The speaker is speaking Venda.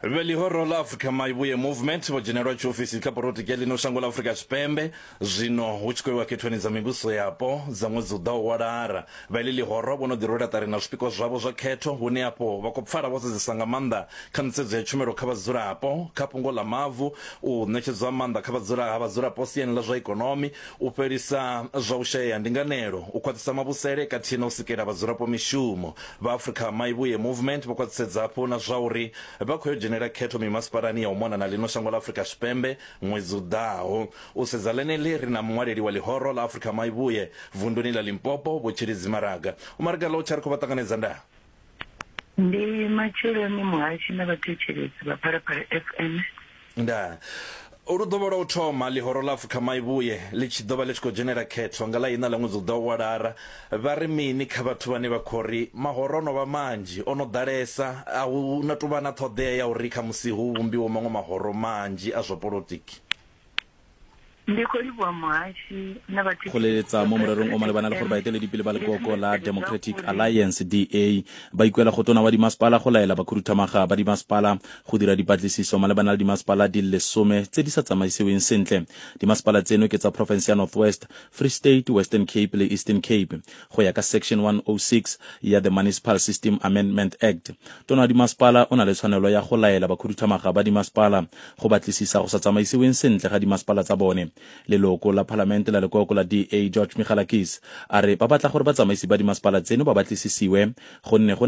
Vhe ḽihoro ḽa Africa Maivhuye Movement vho dzhenelwa tshiofisi kha polotiki ya ḽino shango ḽa Afrika Tshipembe zwino hu tshi khou iwa khethoni dza mivhuso yapo dza ṅwedzi u ḓaho wa Lara. Vha iḽi ḽihoro vho no ḓi rwela ṱari na zwipikwa zwavho zwa khetho hune afho vha khou pfala vho sedzesa nga maanḓa kha nḓisedzo ya tshumelo kha vhadzulapo, kha fhungo ḽa mavu, u ṋetshedzwa ha maanḓa kha vhadzula ha vhadzulapo siani ḽa zwa ikonomi, u fhelisa zwa u shayea ha ndinganelo, u khwaṱhisa mavhusele kathihi na u sikela vhadzulapo mishumo. Vha Africa Maivhuye Movement vho khwaṱhisedza hafhu na zwauri vha khou yo dzhenela khetho mimasipalani ya u mona na ḽino shango ḽa Afrika Tshipembe ṅwedzi u ḓaho. U sedza ḽeneḽi ri na muṅwaleli wa ḽihoro ḽa Africa Maivhuye vunduni ḽa Limpopo, Vho Tshilidzi Maraga. U Maraga ḽo tsha ri khou vha ṱanganedza ndaa. Ndi matsheloni muhashi na vhathetshelesi vha Phalaphala FM. Ndaa. Lu ḓo vha lwa u thoma ḽihoro ḽa Afrika Maivhuye ḽi tshi ḓo vha ḽi tshi khou dzhenela khetho nga ḽa iṋa ḽa ṅwedzi u ḓaho wa Lara. Vha ri mini kha vhathu vhane vha khou ri mahoro o no vha manzhi, o no ḓalesa, a hu na tou vha na ṱhoḓea ya uri khamusi hu vhumbiwe maṅwe mahoro manzhi a zwa polotiki? Ndi khou livhuwa muhashi na Go leletsa mo morerong o malebana le gore baeteledipele ba lekoko la Democratic Alliance DA ba ikuela go tona wa dimasepala go laela bakhuduthamaga ba dimasepala go dira dipatlisiso malebana le dimasepala di le lesome tse di sa tsamaisiweng sentle. Dimasepala tseno ke tsa porofense ya North West, Free State, Western Cape le Eastern Cape. Go ya ka Section 106 ya the Municipal System Amendment Act, tona wa dimasepala o na le tshwanelo ya go laela bakhuduthamaga ba dimasepala go batlisisa go sa tsamaisiweng sentle ga dimasepala tsa bone. Leloko la palamente la lekoko la DA George Michalakis a re ba batla gore batsamaisi ba dimasepala tseno ba batlisisiwe gonne go.